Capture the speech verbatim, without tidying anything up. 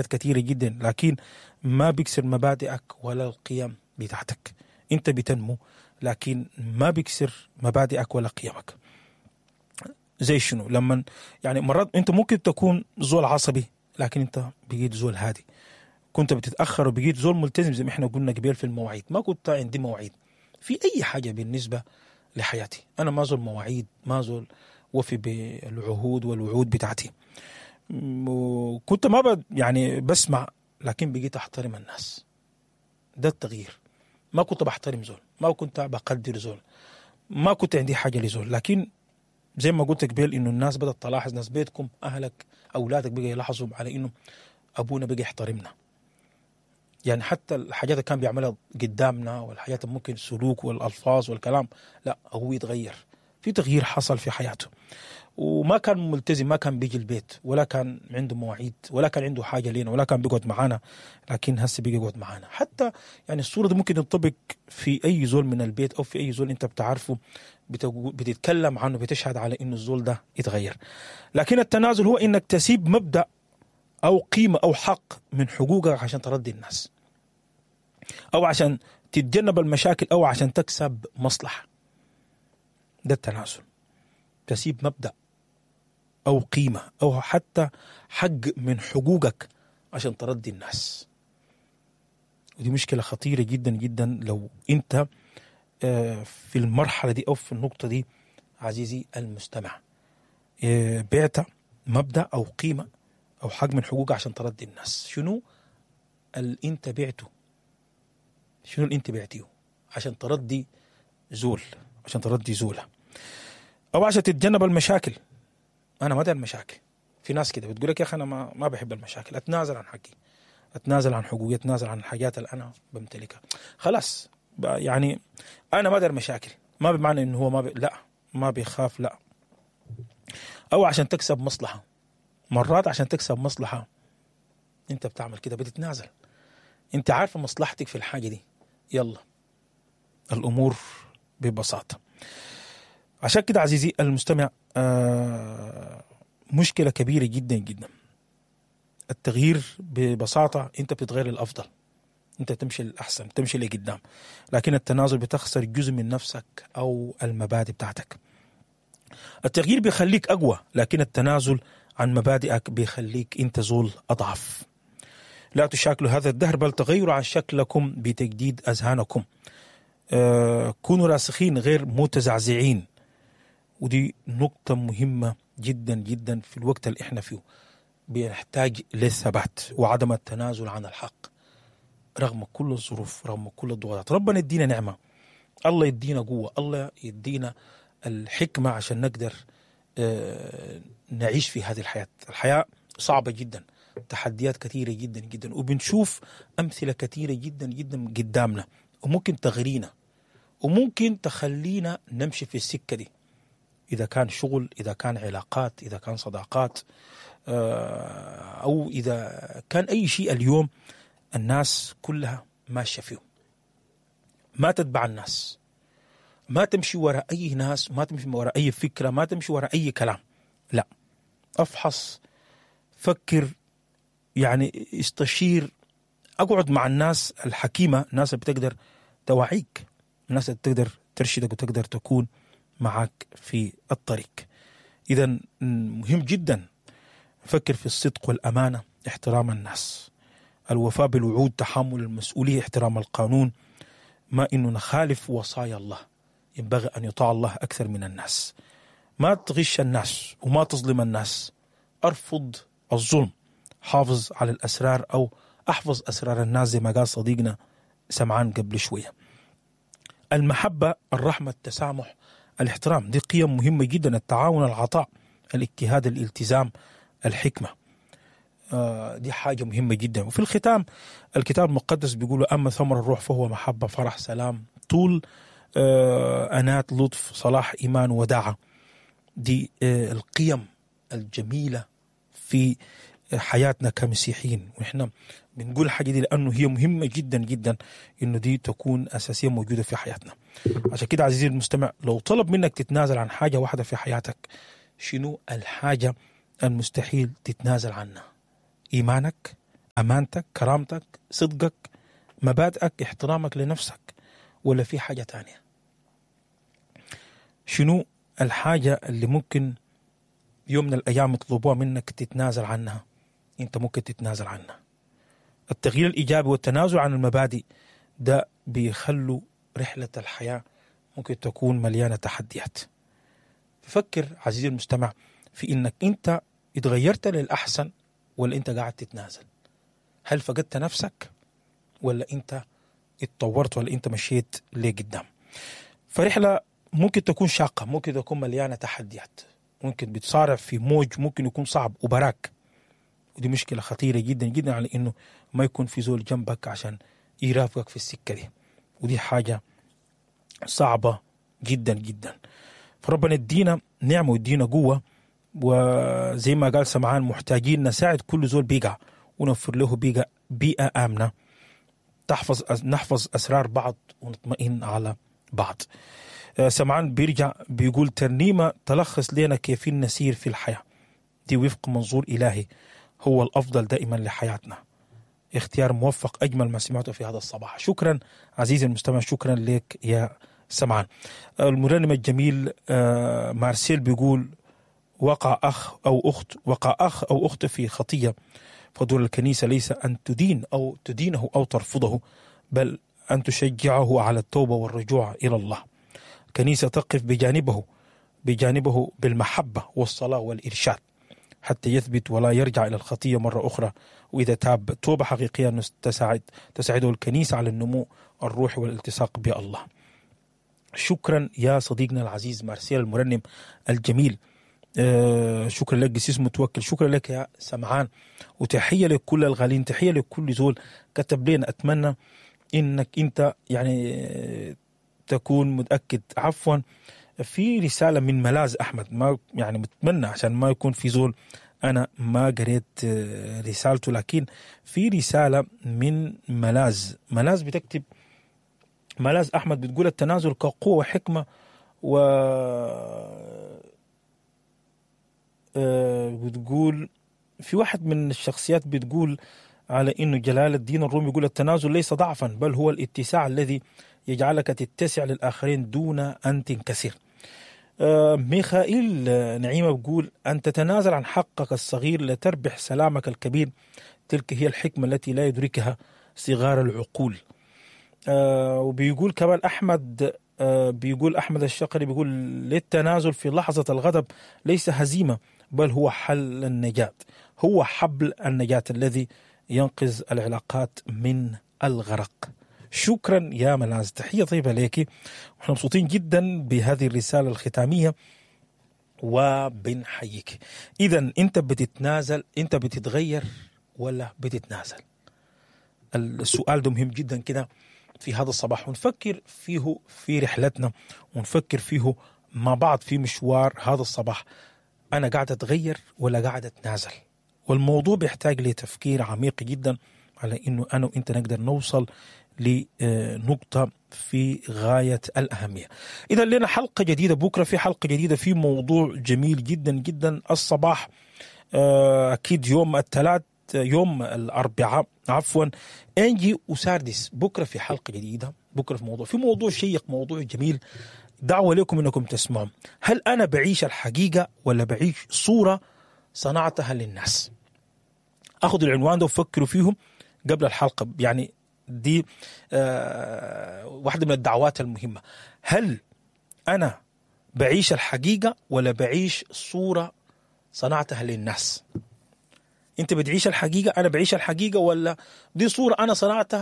كثيرة جدا، لكن ما بيكسر مبادئك ولا القيم بتاعتك. انت بتنمو لكن ما بيكسر مبادئك ولا قيمك. زي شنو؟ لما يعني مرات انت ممكن تكون زول عصبي لكن انت بقيت زول هادي. كنت بتتاخر وبقيت زول ملتزم زي ما احنا قلنا قبل في المواعيد. ما كنت عندي مواعيد في اي حاجة بالنسبة لحياتي. انا ما زول مواعيد، ما زول وفي بالعهود والوعود بتاعتي. وكنت ما ب يعني بسمع، لكن بقيت احترم الناس. ده التغيير. ما كنت بحترم زول، ما كنت بقدر زول، ما كنت عندي حاجة لزول، لكن زي ما قلت قبل انه الناس بدات تلاحظ، ناس بيتكم، اهلك، اولادك بقى يلاحظوا على انه ابونا بقى يحترمنا. يعني حتى الحاجات اللي كان بيعملها قدامنا والحاجات اللي ممكن السلوك والالفاظ والكلام، لا هو يتغير. في تغيير حصل في حياته. وما كان ملتزم، ما كان بيجي البيت، ولا كان عنده مواعيد، ولا كان عنده حاجة لينا، ولا كان بيقعد معانا، لكن هسه بيجي يقعد معانا. حتى يعني الصورة دي ممكن تنطبق في اي زول من البيت او في اي زول انت بتعرفه، بتتكلم عنه، بتشهد على انه الزول ده يتغير. لكن التنازل هو انك تسيب مبدا او قيمة او حق من حقوقك عشان ترضي الناس، او عشان تتجنب المشاكل، او عشان تكسب مصلحة. ده التنازل. تسيب مبدا او قيمة او حتى حق من حقوقك عشان ترضي الناس. ودي مشكلة خطيرة جدا جدا لو انت في المرحلة دي او في النقطة دي عزيزي المستمع، بعت مبدا او قيمة او حق من حقوقك عشان ترضي الناس. شنو اللي انت بعته؟ شنو اللي انت بعتيه عشان ترضي زول، عشان ترضي زوله، او عشان تتجنب المشاكل؟ انا ما داير مشاكل. في ناس كده بتقول لك يا اخي انا ما ما بحب المشاكل، اتنازل عن حقي، اتنازل عن حقوقي، اتنازل عن الحاجات اللي انا بمتلكها. خلاص يعني انا ما داير مشاكل. ما بمعنى انه هو ما بي... لا ما بيخاف، لا. او عشان تكسب مصلحة. مرات عشان تكسب مصلحة انت بتعمل كده، بتتنازل. انت عارفه مصلحتك في الحاجة دي، يلا الامور ببساطة. عشان كده عزيزي المستمع، آه مشكلة كبيرة جدا جدا. التغيير ببساطة انت بتتغير للافضل، انت تمشي للاحسن، تمشي لقدام. لكن التنازل بتخسر جزء من نفسك او المبادئ بتاعتك. التغيير بيخليك اقوى، لكن التنازل عن مبادئك بيخليك انت زول اضعف. لا تشاكلوا هذا الدهر، بل تغيروا عن شكلكم بتجديد اذهانكم. آه كونوا راسخين غير متزعزعين. ودي نقطة مهمة جدا جدا في الوقت اللي احنا فيه. بنحتاج للثبات وعدم التنازل عن الحق رغم كل الظروف، رغم كل الضغوطات. ربنا يدينا نعمة، الله يدينا قوة، الله يدينا الحكمة عشان نقدر نعيش في هذه الحياة. الحياة صعبة جدا، تحديات كثيرة جدا جدا، وبنشوف أمثلة كثيرة جدا جدا قدامنا، وممكن تغرينا وممكن تخلينا نمشي في السكة دي، إذا كان شغل، إذا كان علاقات، إذا كان صداقات، أو إذا كان أي شيء. اليوم الناس كلها ماشية فيه. ما تتبع الناس، ما تمشي وراء أي ناس، ما تمشي وراء أي فكرة، ما تمشي وراء أي كلام. لا، أفحص، فكر، يعني استشير، أقعد مع الناس الحكيمة، الناس اللي بتقدر توعيك، الناس اللي بتقدر ترشدك وتقدر تكون معك في الطريق. إذا مهم جدا فكر في الصدق والأمانة، احترام الناس، الوفاء بالوعود، تحمل المسؤولية، احترام القانون، ما إنه نخالف وصايا الله. ينبغي أن يطاع الله أكثر من الناس. ما تغش الناس وما تظلم الناس. أرفض الظلم، حافظ على الأسرار أو أحفظ أسرار الناس زي ما قال صديقنا سمعان قبل شوية. المحبة، الرحمة، التسامح، الاحترام، دي قيم مهمة جدا. التعاون، العطاء، الاجتهاد، الالتزام، الحكمة، آه دي حاجة مهمة جدا. وفي الختام الكتاب المقدس بيقول أما ثمر الروح فهو محبة، فرح، سلام، طول آه أنات، لطف، صلاح، إيمان، وداعة. دي آه القيم الجميلة في حياتنا كمسيحيين، ونحن بنقول الحاجة دي لأنه هي مهمة جدا جدا إنه دي تكون أساسية موجودة في حياتنا. عشان كده عزيزي المستمع، لو طلب منك تتنازل عن حاجة واحدة في حياتك، شنو الحاجة المستحيل تتنازل عنها؟ إيمانك، امانتك، كرامتك، صدقك، مبادئك، احترامك لنفسك، ولا في حاجة تانية؟ شنو الحاجة اللي ممكن يوم من الايام يطلبوها منك تتنازل عنها؟ انت ممكن تتنازل عنها. التغيير الايجابي والتنازل عن المبادئ ده بيخلوا رحله الحياة ممكن تكون مليانة تحديات. فكر عزيزي المستمع في انك انت اتغيرت للاحسن ولا انت قاعد تتنازل. هل فقدت نفسك ولا انت اتطورت ولا انت مشيت لقدام؟ فرحله ممكن تكون شاقه، ممكن تكون مليانة تحديات، ممكن بتصارع في موج ممكن يكون صعب وبراك، ودي مشكلة خطيرة جدا جدا على انه ما يكون في زول جنبك عشان يرافقك في السكة دي، ودي حاجة صعبة جدا جدا. فربنا يدينا نعمه ويدينا قوة، وزي ما قال سمعان محتاجين نساعد كل زول بيقع ونوفر له بيئة بيئة امنه تحفظ نحفظ اسرار بعض ونطمئن على بعض. سمعان بيرجع بيقول ترنيمة تلخص لنا كيف نسير في الحياة دي وفق منظور الهي هو الافضل دائما لحياتنا. اختيار موفق، اجمل ما سمعته في هذا الصباح. شكرا عزيزي المستمع، شكرا لك يا سمعان. المرنم الجميل مارسيل بيقول وقع اخ او اخت وقع اخ او اخت في خطيه، فدور الكنيسة ليس ان تدين او تدينه او ترفضه، بل ان تشجعه على التوبة والرجوع الى الله. الكنيسة تقف بجانبه بجانبه بالمحبة والصلاة والارشاد حتى يثبت ولا يرجع إلى الخطية مرة أخرى، وإذا تاب توبة حقيقية تساعد تساعده الكنيسة على النمو الروحي والالتصاق بالله. شكرا يا صديقنا العزيز مارسيل المرنم الجميل. آه شكرا لك قسيس متوكل، شكرا لك يا سمعان، وتحية لكل الغالين، تحية لكل زول كتب لنا. أتمنى إنك أنت يعني تكون متأكد. عفوا، في رسالة من ملاذ أحمد، ما يعني متمنى عشان ما يكون في زول أنا ما قريت رسالته، لكن في رسالة من ملاذ. ملاذ بتكتب، ملاذ أحمد بتقول التنازل كقوة وحكمة، و بتقول في واحد من الشخصيات بتقول على إنه جلال الدين الرومي يقول التنازل ليس ضعفا، بل هو الاتساع الذي يجعلك تتسع للآخرين دون أن تنكسر. ميخائيل نعيمة بيقول أن تتنازل عن حقك الصغير لتربح سلامك الكبير، تلك هي الحكمة التي لا يدركها صغار العقول. وبيقول كمان أحمد، بيقول أحمد الشقري بيقول للتنازل في لحظة الغضب ليس هزيمة، بل هو حل النجاة، هو حبل النجاة الذي ينقذ العلاقات من الغرق. شكرا يا ملاذ، تحية طيبة لك، ونحن مبسوطين جدا بهذه الرسالة الختامية وبنحييك. إذا أنت بتتنازل، أنت بتتغير ولا بتتنازل؟ السؤال ده مهم جدا كده في هذا الصباح، ونفكر فيه في رحلتنا، ونفكر فيه مع بعض في مشوار هذا الصباح. أنا قاعد أتغير ولا قاعد أتنازل؟ والموضوع بيحتاج لتفكير عميق جدا على إنه أنا وإنت نقدر نوصل لنقطة في غاية الأهمية. إذا لنا حلقة جديدة بكرة، في حلقة جديدة في موضوع جميل جدا جدا الصباح، أكيد يوم الثلاث، يوم الأربعاء عفوا، إنجي وساردس. بكرة في حلقة جديدة، بكرة في موضوع، في موضوع شيق، موضوع جميل. دعوة لكم إنكم تسمعوا. هل أنا بعيش الحقيقة ولا بعيش صورة صنعتها للناس؟ أخذوا العنوان ده وفكروا فيهم قبل الحلقة، يعني دي آه واحدة من الدعوات المهمة. هل أنا بعيش الحقيقة ولا بعيش صورة صنعتها للناس؟ أنت بتعيش الحقيقة، أنا بعيش الحقيقة، ولا دي صورة أنا صنعتها